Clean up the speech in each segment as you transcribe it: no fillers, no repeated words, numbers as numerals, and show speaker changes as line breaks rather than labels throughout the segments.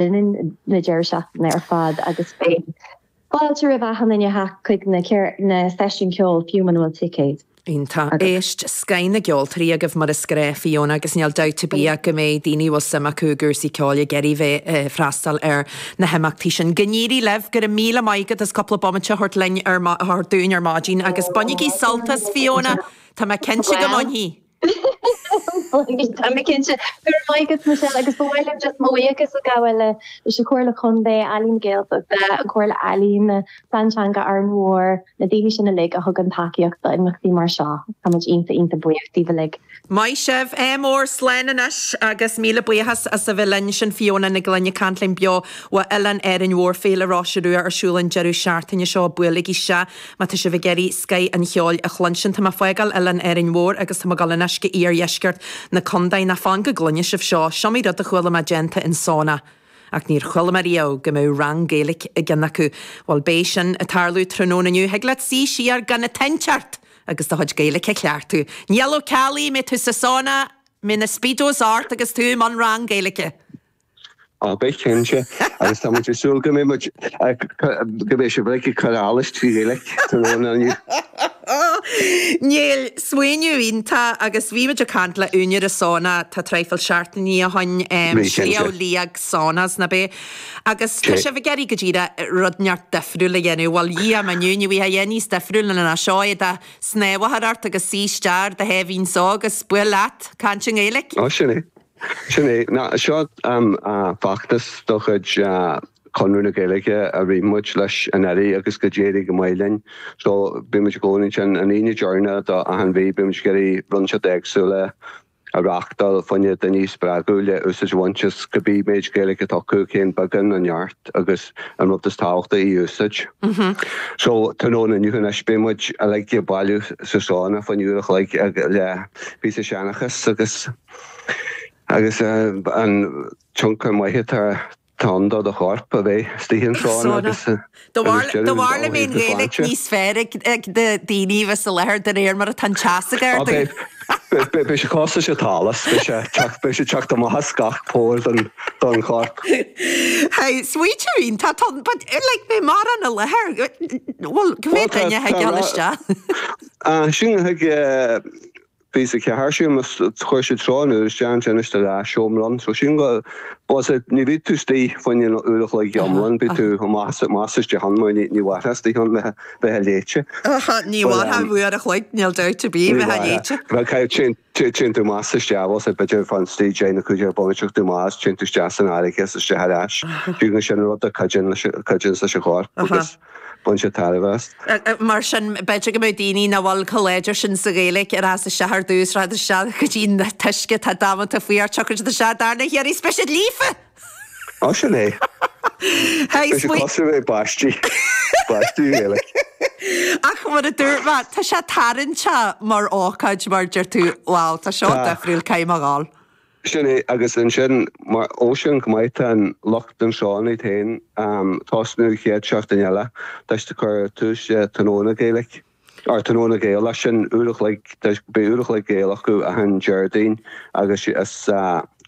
linn na deireadh seachtaine ar fad agus beidh fáilte roimh achan duine a theacht chuig na seisiúin ceoil fiú muna bhfuil ticéad.
Iontach. Éist, scoth na gceoltóirí agaibh mar is gnách Fiona agus níl dabht ar bith ach go mbeidh daoine a bhfuil suim acu i gcúrsaí ceoil ag iarraidh bheith ag freastal ar na himeachtaí sin. Go n-éirí libh, go raibh míle maith agat as cúpla bomaite a thabhairt linn ar a thabhairt dúinn ar maidin agus bainigí sult as Fiona, tá mé cinnte go mbainfidh.
Tá mé cinnte. Go raibh maith agat Michelle agus ba mhaith liom just mo bhuíochas a ghabháil leis an Chomhairle Contae, Ealaín na Gaeltachta, an Chomhairle Ealaíon, Plean Teanga Árainn Mhór, na daoine sin uilig a thugann tacaíocht d'imeachtaí mar seo. Tá muid iontach iontach buíoch díobh uilig.
Maith sibh. Ádh mór, slán anois agus míle buíochas as a bheith linn. Sin Fiona Nic Gloinn ag caint linn beo ó Oileán Árainn Mhór, Féile Roise Rua ar siúl an deireadh seachtaine seo. Buailigí isteach má tá sibh ag iarraidh scoith an cheoil a chluinstin. Tá mé ag fágáil Oileán Árainn Mhór agus tá mé ag dul anois go iardheisceart na contae. Ná fan go gcluine sibh seo. S'iomaí rud a chuala mé déanta in sauna. Ach níor chuala mé riamh go mbeadh rang Gaeilge i gceann acu. Bhuel, beidh sin ag tarlú tráthnóna inniu. Thig leat suí siar gan an tsaint ort agus do chuid Gaeilge a chleachtadh. Niall Ó Ceallaigh, mbeidh tú sa sauna, mbeidh na speedos ort agus tú i mbun rang Gaeilge.
Á, beidh cinnte. Agus tá muid ag súil go mbeidh muid, go mbeidh sibh uilig ag cur allais trí Ghaeilge tráthnóna inniu.
Niall, smaoineamh iontach agus bhí muid ag caint le úinéir an sauna tá traidhfil seachtainí ó shoin, Sliabh Liag Saunas, ná b'é? Agus tá sibh ag iarraidh go díreach rud inteacht difriúil a dhéanamh, bhuel Dhia mo inniu, ní bhíodh a dhath níos difriúil ná seo é do shnámh a chur ort agus suí isteach ar do thaobhín só agus buail leat, caint i nGaeilge.
Ó sin é, sin é. Ná seo feachtas de chuid Conradh na Gaeilge a rith muid leis anuraidh agus go d'éirigh go maith linn. So bíonn muid i gcónaí ansin an Aoine deireanach de achan mhí, bíonn muid ag iarraidh rud inteacht éagsúla a reáchtáil fá choinne daoine a spreagadh le úsáid a bhaint as cibé méid Gaeilge atá acu, cén beagán nó neart agus an rud is tábhachtaí í a úsáid. So tráthnóna inniu anois beidh muid uilig ag bailiú sa sauna fá choinne uair a chloig le píosa seanchas agus agus an tionchar maith atá Tá ann do do chorp a bheith istigh an sauna agus
Do bharr le mé an Ghaeilge níos fearr ag na daoine a bheas i láthair de réir mar atá an teas ag ardú.
Beidh sé cosúil leis an t-allas, beidh sé teacht amach as gach pór den chorp.
Hey, smaoineamh iontach, tá, but like beidh mórán i láthair, bhuel, go mbeidh duine ag dul isteach.
Sin thig Bhí sa cheathair sílim is chuir siad seo an uair isteach ansin is de leath-seomra ann. So sílim go bhuel sea ní bhí tú istigh fá choinne an uair a chloig iomlán, bhí tú amach is amach is isteach ann mar ní ní mhairfeá istigh ann bheith bheith a léite.
Ní mhairfeá uair a chloig, níl dabht ar bith,
Ní
bheith a léite.
Bheadh caithfidh téann téann tú amach is isteach bhuel sea b'fhéidir fan istigh deich nó 15 bomaite tú amach is téann tú isteach san fharraige is isteach ar ais. Fiú go sin rud a cuidíonn leis cuidíonn leis an chorp agus Bhain sé tairbhe as.
Mar sin, b'fhéidir go mbeadh daoine nach bhfuil chomh láidir sin sa Ghaeilge ag rás isteach ar dtús, rachadh isteach go dtí an t-uisce atá damanta fuar, tiocfaidh siad isteach darna hiarraidh is beidh siad líofa!
Ó, sin é. Beidh sé cosúil le báistí. Báistí Ghaeilge.
Ach mar a dúirt mé, tá sé tarraingteach mar ócáid mar deir tú, wow, tá seo difriúil, caithfidh mé a ghabháil.
Sin é, agus ansin, mar, ó sin go maith, tá an lucht an sauna iad féin tosnú chéad seachtain eile, tá siad ag cur tús le tráthnóna Gaeilge, or tráthnóna Gaelach, sin uair a chloig, beidh uair a chloig Gaelach acu achan Déardaoin agus is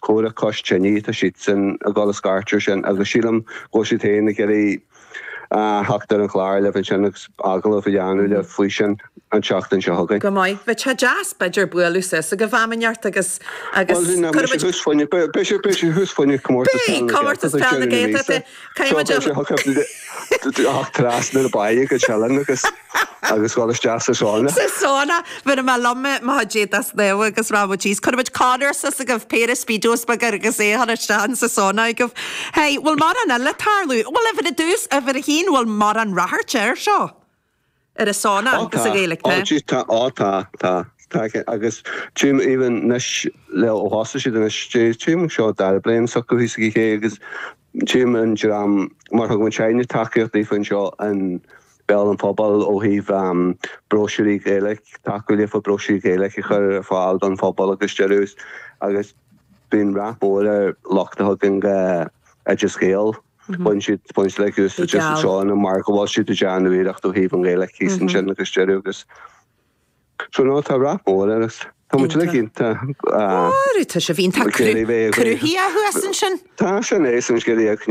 Comhrá Cois Tine atá siadsan ag dul a scairteadh sin agus sílim go bhfuil siad féin ag iarraidh theacht ar an chlár libh ansin agus agallamh a dhéanamh libh faoi sin an tseachtain seo chugainn.
Go maith. Bheadh sé deas b'fhéidir bualadh suas agaibh am inteacht agus agus
Bhuel, beidh sé thuas fá choinne, beidh sé beidh sé thuas fá choinne comórtas
Beidh, comórtas peil na Gaeltachta.
Caithfidh muid a. Theacht trasna na báighe go Teileann agus agus dhul isteach sa sauna.
Sa sauna. Bhéarfaidh mé liom mo chuid éadach snámha agus rachaidh muid síos. Cuirfidh muid Conor suas agaibh, péire speedos beaga agus é a chur isteach in sa sauna agaibh. Hey, bhfuil mórán eile ag tarlú? Bhuel, uimhir a dtús, uimhir a haon, bhfuil mórán ráchairt air seo? Ar an sauna
Ó
agus
tá,
an Ghaeilge,
ó
tá?
jeez tá, ó tá, tá, tá agus tchím even anois le ó thosaigh siad anois, tchím seo dara bliain s'acu thíos ag an ché agus Tchím an dream mar thug muid féin tacaíocht daofa anseo in Béal an Phobail ó thaobh bróisiúirí Gaeilge, tacú leofa bróisiúirí Gaeilge a chur ar fáil don phobal agus deireadh agus bíonn rath mór ar lucht a thagann go Oideas Gael. Baineann siad baineann siad like úsáid as an sauna mar go bhfuil siad ag déanamh iarracht ó thaobh an Ghaeilge thíos ansin agus deireadh agus so no tá rath mór air. Tá muid uilig iontach.
Ó, tá sibh iontach cruthaithe thuas ansin.
Tá sin é, sin scéal.